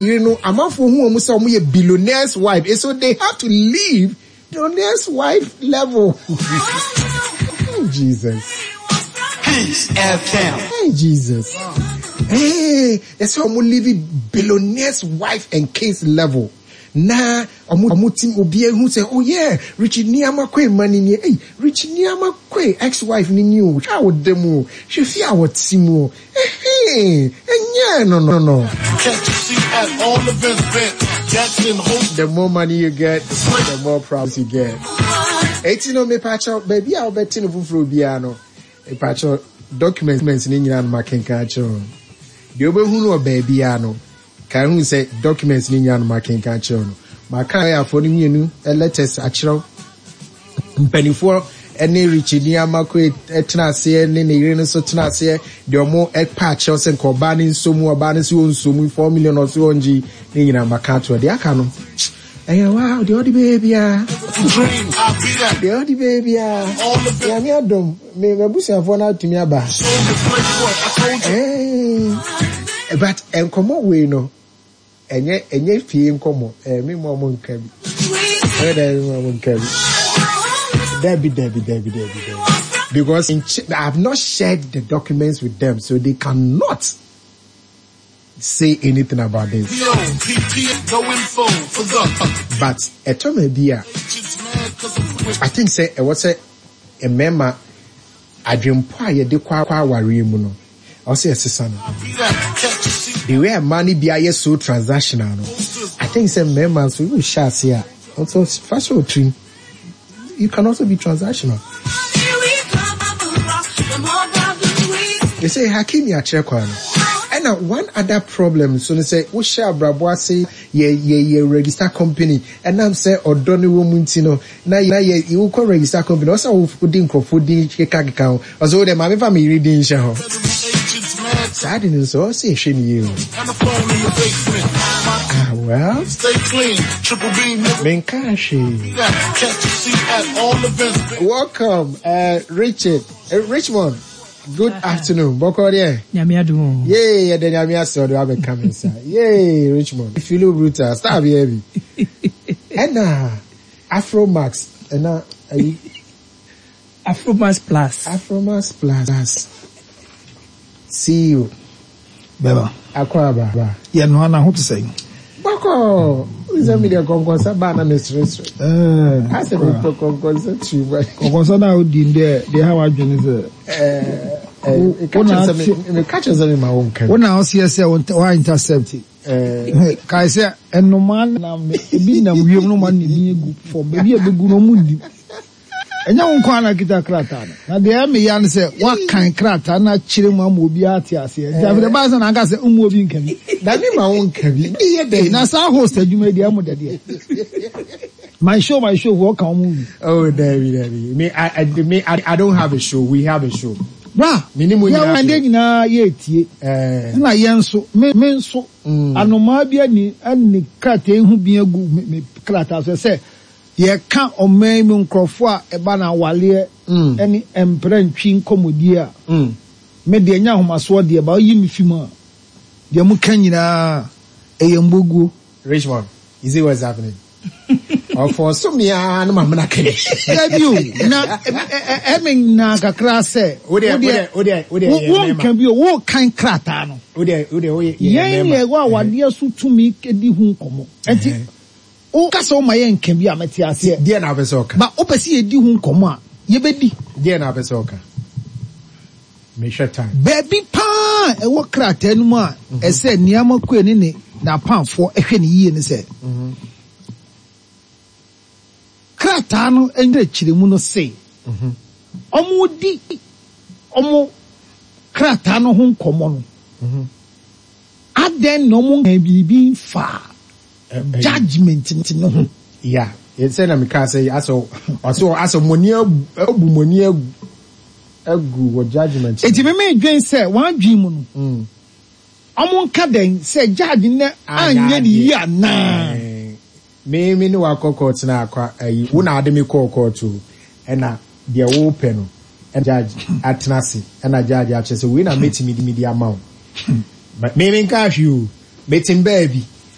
Yere no amanfoɔ hu wɔn sɛ wɔn yɛ billionaires wife so they have to leave billionaires wife level oh Jesus. Peace FM. Hey Jesus. Hey, ɛsɛ wɔn leave billionaires wife and kids level na wɔn wɔn ti obi ehu sɛ oh yeah Richie Nneɛma Kwe ma ni nie hey Richie Nneɛma Kwe ex wife ni ni o hwɛ a wɔda mu o hwɛ fi a wɔte mu o. Ɛhee, ɛnyɛɛ no no no. The more money you get, the more problems you get. Eti no mepakyɛw baabi a wobɛte no foforɔ biara no, mepakyɛw documents no nyinaa no makenkan akyerɛ wo. Deɛ wobɛhu no wɔ baabiara no, Kae hu sɛ documents no nyinaa no makenkan akyerɛ wo no. Maka lɔyafoɔ no mmienu letters akyerɛ wo. Mpanimfoɔ ne Richie ni Amakwe tena aseɛ ne ne yere no nso tena aseɛ deɛ ɔmo pa akyerɛw sɛ nka ɔbaa no nso mu ɔbaa no nso ɔnso mu 4 million ɔso ɔngye ne nyinaa maka ato deɛ aka no ɛyɛ wa deɛ ɔde bɛyɛ biara deɛ ɔde bɛyɛ biara Nyame adom Me m'abusuafoɔ no atumi aba. Eh, but nkɔmɔ wei no, ɛnyɛ ɛnyɛ fie nkɔmɔ. Eh, me mu ɔmo nka bi. Ɛyɛ dɛ me mu ɔmo nka bi. Dabi dabi dabi dabi dabi. Because I have not shared the documents with them, so they cannot say anything about this. But ɛtɔ ma bi a, I think sɛ ɛwɔ sɛ mmarima adwempɔ a yɛde kɔ awareɛ mu no, ɛwɔ sɛ yɛsesa no. The way a mmaa no bi ayɛ so transactional no, I think sɛ mmarima nso wohyɛ ase a, nso fa hyɛ wo tirim. You can also be transactional. They say Hakimi akyerɛ kwan no. Ɛna one other problem nso ne sɛ wohyɛ abrabɔ ase yɛ yɛ yɛ register company ɛnam sɛ ɔdɔ no wɔ mu nti no na yɛ wokɔ register company ɔsɛ wode nkurɔfoɔ din keka keka ho ɔsɛ wo deɛ maame fa me yere din nhyɛ hɔ saa de no nso ɔsɛ yɛhwɛ ne yie o. Ah well. Menkaa hwee. Welcome, Richard, Richmond. Good afternoon. Bɔkɔ deɛ. Nyame adum o. Yee, yɛda Nyame ase ɔde wabɛka me nsa. Yee, Richmond. Filo brutal, star bi bi. Ɛna Afro Max, ɛna ayi. Afromax Plus. Afromax Plus CEO. Bɛba. Akwaaba. Yɛ noa na ho te sɛn? Bɔkɔɔ. Sɛ mi deɛ kɔnkɔnsa baa na mi seresere. Ɛɛ. Asɛ mi pɛ kɔnkɔnsa too much. Kɔnkɔnsa na odi deɛ deɛ ha wadwene sɛ. Ɛɛ. Meka kyerɛ sɛ mi ma wo nka bi. Wo na ɔseɛ sɛ wa intercept. Kae sɛ nnomaa nam ebi nam wiem no ma ne din egu fam baabi a ebegu no ɔmo nnim. Ɛnyɛ wo nko ara na kita krataa no. Na deɛ ɛyɛ me ya ne sɛ woakan krataa no akyerɛ mu ama obiara ate aseɛ. Nti afei deɛ ɛbaa sɛ na anka sɛ mmu obi nka bi. Na me ma wo nka bi. Meyɛ dɛn? Na saa host adwuma yi deɛ ɛmo dɛ deɛ. My show, my show, foɔ ka wɔn bi. Oh, dabi, dabi. Me, I, I, me, I, I don't have a show. We have a show. Bra, Me ne mo yɛn nyinaa ɛnde nyinaa yɛretie. Eh. Ɛna yɛn nso, me, me nso, anomaa bi ani, ani krataa yi ho bi agu me, me krataa so sɛ Yɛka ɔman yi mu nkurɔfoɔ a ɛba no awaleɛ ne mprɛntwe nkɔmmɔdie a, me deɛ ɛnyɛ ahomasoɔ deɛ, but woyi me fi mu a, deɛ moka nyinaa ɛyɛ mboguo. Richmond, you see what's happening? Ɔfɔɔso me ara na mamena kɛnɛ. Dabi o, na ɛme nyinaa kakra sɛ, wodeɛ, wonka bi o, wokan krataa no. Yɛn na yɛwɔ awadeɛ so tumi di ho nkɔmmɔ. Ɛnti, Wo ka sɛ woma yɛ nka bi a, mɛte aseɛ. Deɛ na wopɛ sɛ ɔka? But wopɛ sɛ yɛdi ho nkɔmmɔ a, yɛbɛdi. Deɛ na wopɛ sɛ ɔka? Mehwɛ time. Baabi paa a ɛwɔ krataa no mu a ɛsɛ Nneama Kue ne ne n'apamfoɔ hwɛ no yie ne sɛ, krataa no nkyerɛkyerɛmu no se wɔredi wɔn krataa no ho nkɔmmɔ no, adɛn na wɔnkaa biribi mfaa judgement no ho. Yeah, sɛ na mekaa sɛ asɛ ɔsɛ asɛ mɔni abu mɔni agu wɔ judgement. Eti me me dwen sɛ wɔn adwen mu no, wɔn nka dɛn sɛ judge no anyɛ ne yie anaa? Me me ne wakɔ court na akɔ ayi wo na ade me kɔɔ court o ɛna deɛ wopɛ no ɛna judge atena ase ɛna judge akyerɛ sɛ wei na mɛtumi de ama wo. Me me nka hwee o, mete baabi.